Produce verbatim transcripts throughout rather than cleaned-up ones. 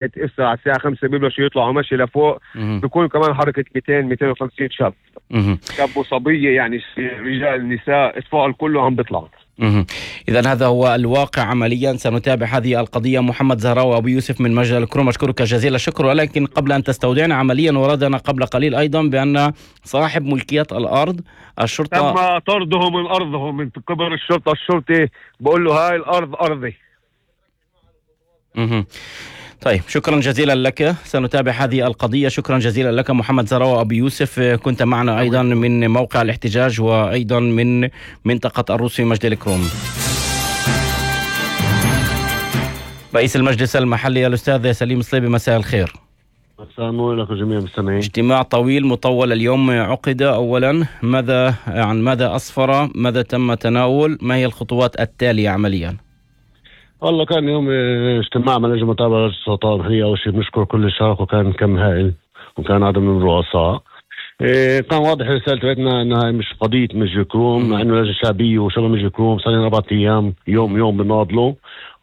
هسه على الساعة خمسة بيبلشوا يطلعوا مشي لفوق، بيكون كمان حركة مئتين مئتين وخمسين شاب، شاب وصبية يعني رجال نساء اطفال كله عم بيطلعوا. إذا هذا هو الواقع عمليا. سنتابع هذه القضية. محمد زهراوي أبو يوسف من مجد الكروم، أشكرك جزيل الشكر. ولكن قبل أن تستودعنا عمليا، وردنا قبل قليل أيضا بأن صاحب ملكية الأرض الشرطة تم طرده من أرضه من قبل الشرطة. الشرطي بقول له هاي الأرض أرضي. مه. طيب شكرا جزيلا لك، سنتابع هذه القضية. شكرا جزيلا لك محمد زهراوي أبو يوسف، كنت معنا أيضا من موقع الاحتجاج وأيضا من منطقة الروس في مجد الكروم. رئيس المجلس المحلي الأستاذ سليم صليبي، مساء الخير. مساء النور لك جميع المستمعين. اجتماع طويل مطول اليوم عقد. أولا ماذا عن ماذا أسفر؟ ماذا تم تناول؟ ما هي الخطوات التالية عمليا؟ والله كان يوم اجتماع مع لجنة متابعة السلطات المحلية. أول شيء بنشكر كل الشركاء، وكان كم هائل وكان عدد من الرؤساء. إيه كان واضح رسالة بيتنا انها مش قضية مجد الكروم، مع انه لجنة شعبية وشباب مجد الكروم صار لنا أربعة أيام يوم يوم بناضلوا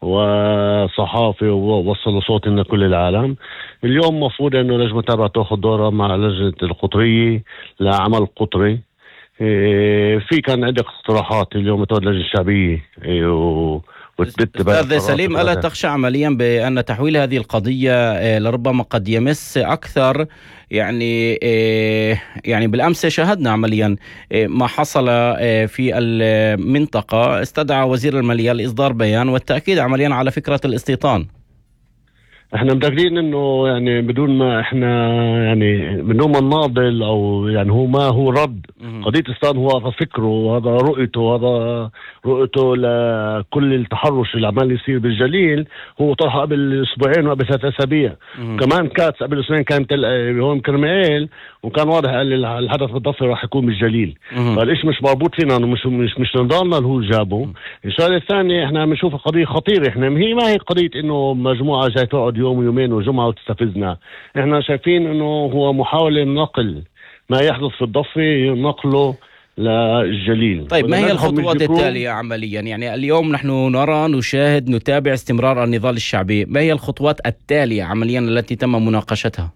وصحافة ووصلوا صوتنا كل العالم. اليوم مفروض انه لجنة متابعة تاخذ دورها مع لجنة القطرية لعمل قطري. إيه في كان عدة اقتراحات اليوم تاخذ اللجنة الشعبية. إيه و أستاذ سليم، ألا تخشى عمليا بأن تحويل هذه القضية لربما قد يمس أكثر يعني يعني بالأمس شاهدنا عمليا ما حصل في المنطقة، استدعى وزير المالية لإصدار بيان والتأكيد عمليا على فكرة الاستيطان. احنا متأكدين انه يعني بدون ما احنا يعني بدون ما نناضل او يعني هو ما هو رد قضية الاستيطان، هو هذا فكره وهذا رؤيته وهذا رؤيته لكل التحرش اللي عمال يصير بالجليل. هو طرحه قبل اسبوعين وقبل ثلاث اسابيع، كمان كاتس قبل اسبوعين كان هون كرمال، وكان واضح قال الحدث بالضفة راح يكون بالجليل. فالإيش مش مربوط فينا، مش مش مش نضالنا اللي هو جابه. الشغله الثانيه احنا بنشوف قضيه خطيره. احنا هي ما هي قضيه انه مجموعه جاي تقعد يوم ويومين وجمعه وتستفزنا. احنا شايفين انه هو محاوله نقل ما يحدث في الضفه نقله للجليل. طيب ما هي الخطوات التالية عمليا؟ يعني اليوم نحن نرى نشاهد نتابع استمرار النضال الشعبي، ما هي الخطوات التالية عمليا التي تم مناقشتها؟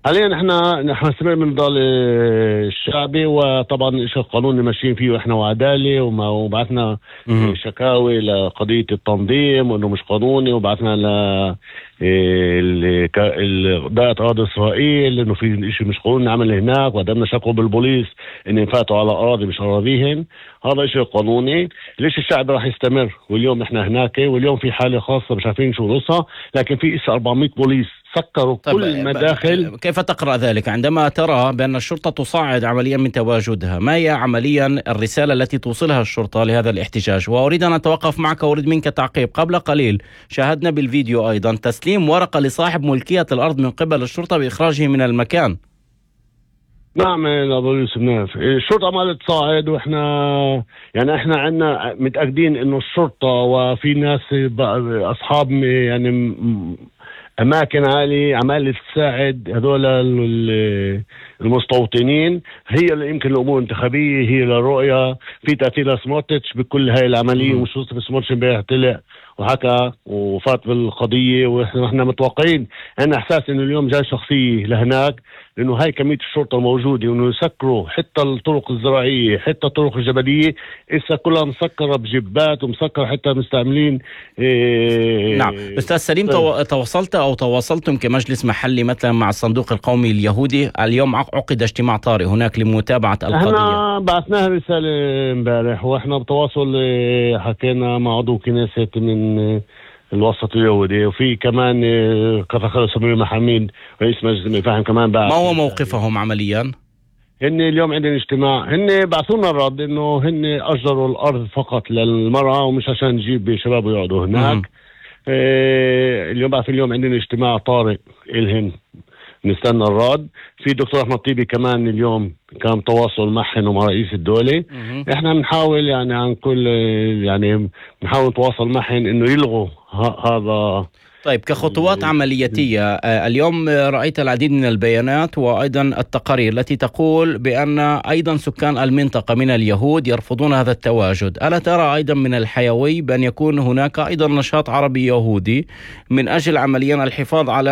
حاليا احنا نحن نستمر من النضال الشعبي، وطبعا الشيء القانوني ماشيين فيه احنا وعداله، وبعثنا شكاوي لقضيه التنظيم وانه مش قانوني، وبعثنا ل دائرة أراضي إسرائيل إنه في شيء مش قانوني عمل هناك، وقدمنا شكوى بالبوليس إن فاتوا على أراضي مش أراضيهم. هذا شيء قانوني. ليش الشعب راح يستمر؟ واليوم إحنا هناك، واليوم في حالة خاصة مش عارفين شو نصها، لكن في إسا أربعمية بوليس سكروا كل المداخل. كيف تقرأ ذلك عندما ترى بأن الشرطة تصعد عمليا من تواجدها؟ ما هي عمليا الرسالة التي توصلها الشرطة لهذا الاحتجاج؟ وأريد أن أتوقف معك وأريد منك تعقيب. قبل قليل شاهدنا بالفيديو أيضا تسليم ورقة لصاحب ملكية الأرض من قبل الشرطة بإخراجه من المكان. نعم يا أبو يوسف، نعرف الشرطة عمالة تصاعد، وإحنا يعني إحنا عنا متأكدين إنه الشرطة وفي ناس أصحاب يعني أماكن عالية عمالة تساعد هذول المستوطنين. هي اللي يمكن الأمور الانتخابية، هي للرؤية في تأثير سموتريتش بكل هاي العملية. ومش وصف سموتريتش امبارح طلع وحكى وفات بالقضية، وإحنا متوقعين عندنا إحساس إنه اليوم جاي شخصية لهناك، لأنه هاي كمية الشرطة الموجودة، وإنه يسكروا حتى الطرق الزراعية حتى الطرق الجبلية إسا كلها مسكرة بجبات ومسكرة حتى مستعملين. إيه نعم أستاذ سليم، تو... تواصلت أو تواصلتم كمجلس محلي مثلا مع الصندوق القومي اليهودي؟ اليوم عقد اجتماع طارئ هناك لمتابعة القضية. احنا بعثناها رسالة امبارح، واحنا بتواصل حكينا مع عضو كنيسة من الوسط اليهودي، وفي كمان كفخر سمير محمد رئيس مجلس المفاهيم كمان بعث. ما هو موقفهم عمليا؟ هن اليوم عندنا اجتماع، هن بعثونا الرد انه هن اجروا الارض فقط للمرأة ومش عشان نجيب شباب يقعدوا هناك. اه اليوم بعث اليوم عندنا اجتماع طارئ الهن نستنى الرد. في دكتور أحمد طيبي كمان اليوم كان تواصل معهم ومع رئيس الدولة. احنا بنحاول يعني عن كل يعني بنحاول نتواصل معهم انه يلغوا هذا. طيب كخطوات عملياتية، اليوم رأيت العديد من البيانات وأيضا التقارير التي تقول بأن أيضا سكان المنطقة من اليهود يرفضون هذا التواجد. ألا ترى أيضا من الحيوي بأن يكون هناك أيضا نشاط عربي يهودي من أجل عمليا الحفاظ على